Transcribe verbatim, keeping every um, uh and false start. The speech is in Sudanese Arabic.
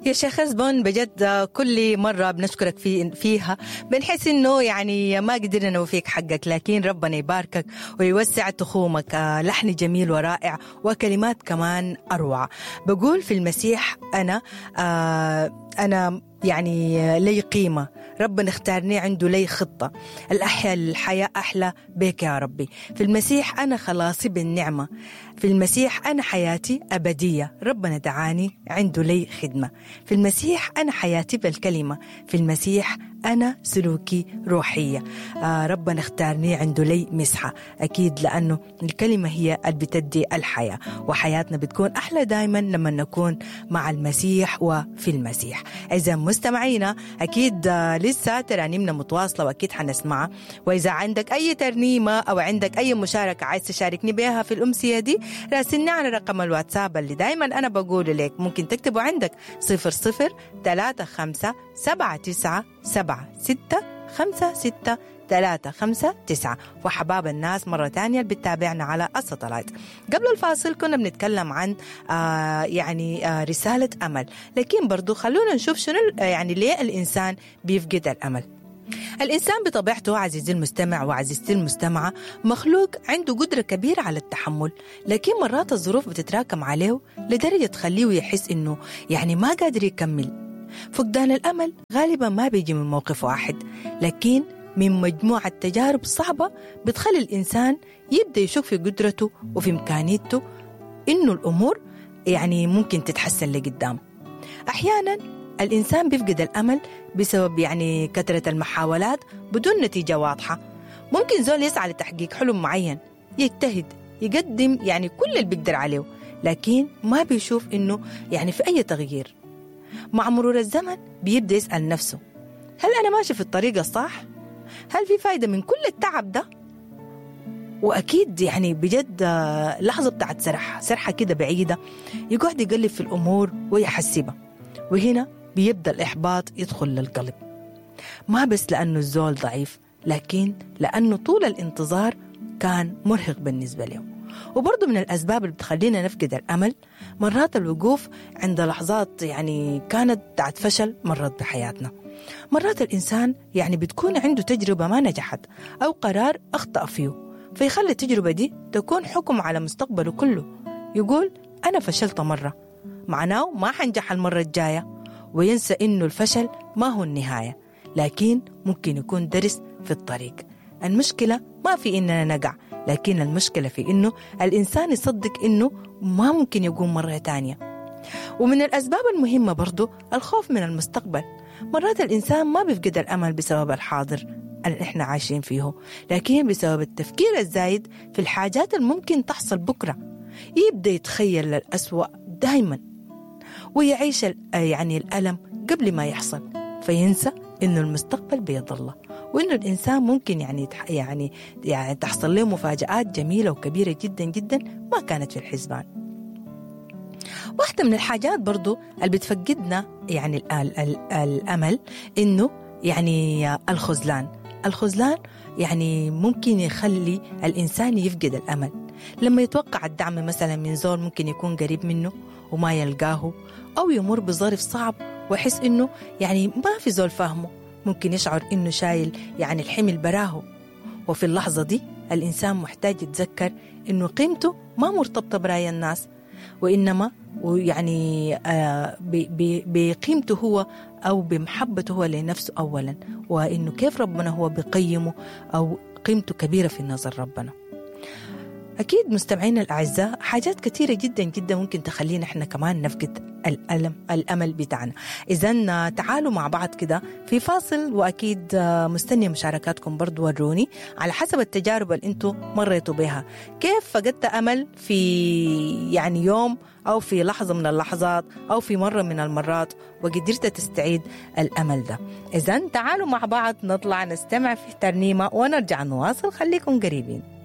يا شيخ حسبون، بجد كل مرة بنشكرك في فيها بنحس إنه يعني ما قدرنا نوفيك حقك، لكن ربنا يباركك ويوسع تخومك. لحن جميل ورائع وكلمات كمان أروع. بقول في المسيح أنا آه أنا يعني لي قيمة، ربنا اختارني، عنده لي خطة، الأحياء الحياة أحلى بك يا ربي. في المسيح أنا خلاصي بالنعمة، في المسيح أنا حياتي أبدية، ربنا دعاني عنده لي خدمة. في المسيح أنا حياتي بالكلمة، في المسيح أنا سلوكي روحية، آه ربنا اختارني عنده لي مسحة. أكيد لأنه الكلمة هي اللي بتدي الحياة، وحياتنا بتكون أحلى دايما لما نكون مع المسيح وفي المسيح. إذا مستمعينا أكيد لسه ترانيمنا متواصلة وأكيد حنسمعها، وإذا عندك أي ترنيمة أو عندك أي مشاركة عايز تشاركني بها في الأمسية دي راسلني على رقم الواتساب اللي دايما أنا بقوله لك، ممكن تكتبه عندك صفر صفر ثلاثة خمسة سبعة تسعة سبعة ستة خمسة ستة ثلاثة خمسة تسعة. وحباب الناس مرة تانية اللي بتتابعنا على الساتلايت. قبل الفاصل كنا بنتكلم عن آه يعني آه رسالة أمل، لكن برضو خلونا نشوف شنو يعني ليه الإنسان بيفقد الأمل. الإنسان بطبيعته عزيزي المستمع وعزيزتي المستمعة مخلوق عنده قدرة كبيرة على التحمل، لكن مرات الظروف بتتراكم عليه لدرجة تخليه يحس إنه يعني ما قادر يكمل. فقدان الأمل غالبا ما بيجي من موقف واحد، لكن من مجموعة تجارب صعبة بتخلي الإنسان يبدأ يشك في قدرته وفي إمكانيته إنه الأمور يعني ممكن تتحسن لقدام. أحيانا الإنسان بيفقد الأمل بسبب يعني كثرة المحاولات بدون نتيجة واضحة. ممكن زول يسعى لتحقيق حلم معين، يجتهد، يقدم يعني كل اللي بيقدر عليه، لكن ما بيشوف إنه يعني في أي تغيير. مع مرور الزمن بيبدأ يسأل نفسه، هل أنا ماشي في الطريق الصح؟ هل في فايدة من كل التعب ده؟ وأكيد يعني بجد لحظة بتاعت سرحة سرحة كده بعيدة، يقعد يقلب في الأمور ويحسبها، وهنا بيبدأ الإحباط يدخل للقلب. ما بس لأنه الزول ضعيف، لكن لأنه طول الانتظار كان مرهق بالنسبة له. وبرضه من الأسباب اللي بتخلينا نفقد الأمل مرات الوقوف عند لحظات يعني كانت بتاعت فشل مرت بحياتنا. مرات الإنسان يعني بتكون عنده تجربة ما نجحت أو قرار أخطأ فيه، فيخلي التجربة دي تكون حكم على مستقبله كله. يقول أنا فشلت مرة، معناه ما حنجح المرة الجاية، وينسى إنه الفشل ما هو النهاية، لكن ممكن يكون درس في الطريق. المشكلة ما في إننا نقع، لكن المشكلة في إنه الإنسان يصدق إنه ما ممكن يقوم مرة تانية. ومن الأسباب المهمة برضو الخوف من المستقبل. مرات الإنسان ما بيفقد الأمل بسبب الحاضر اللي إحنا عايشين فيه، لكن بسبب التفكير الزايد في الحاجات الممكن تحصل بكرة. يبدأ يتخيل الأسوأ دايما ويعيش يعني الألم قبل ما يحصل، فينسى إنه المستقبل بيد الله، وإنه الإنسان ممكن يعني يعني يعني تحصل له مفاجآت جميلة وكبيرة جدا جدا ما كانت في الحسبان. واحدة من الحاجات برضو اللي بتفقدنا يعني ال ال ال الأمل إنه يعني الخذلان. الخذلان يعني ممكن يخلي الإنسان يفقد الأمل لما يتوقع الدعم مثلا من زول ممكن يكون قريب منه وما يلقاه، أو يمر بظرف صعب ويحس إنه يعني ما في زول فاهمه، ممكن يشعر إنه شايل يعني الحمل براه. وفي اللحظة دي الإنسان محتاج يتذكر إنه قيمته ما مرتبطة برأي الناس، وإنما ويعني آه بقيمته هو أو بمحبته هو لنفسه أولا، وإنه كيف ربنا هو بقيمه أو قيمته كبيرة في نظر ربنا. أكيد مستمعينا الأعزاء حاجات كثيرة جدا جدا ممكن تخلينا إحنا كمان نفقد الألم الأمل بتاعنا. إذن تعالوا مع بعض كده في فاصل، وأكيد مستنية مشاركاتكم برضو، وروني على حسب التجارب اللي أنتوا مريتوا بها كيف فقدت أمل في يعني يوم أو في لحظة من اللحظات أو في مرة من المرات وقدرت تستعيد الأمل ده. إذن تعالوا مع بعض نطلع نستمع في ترنيمة ونرجع نواصل، خليكم قريبين.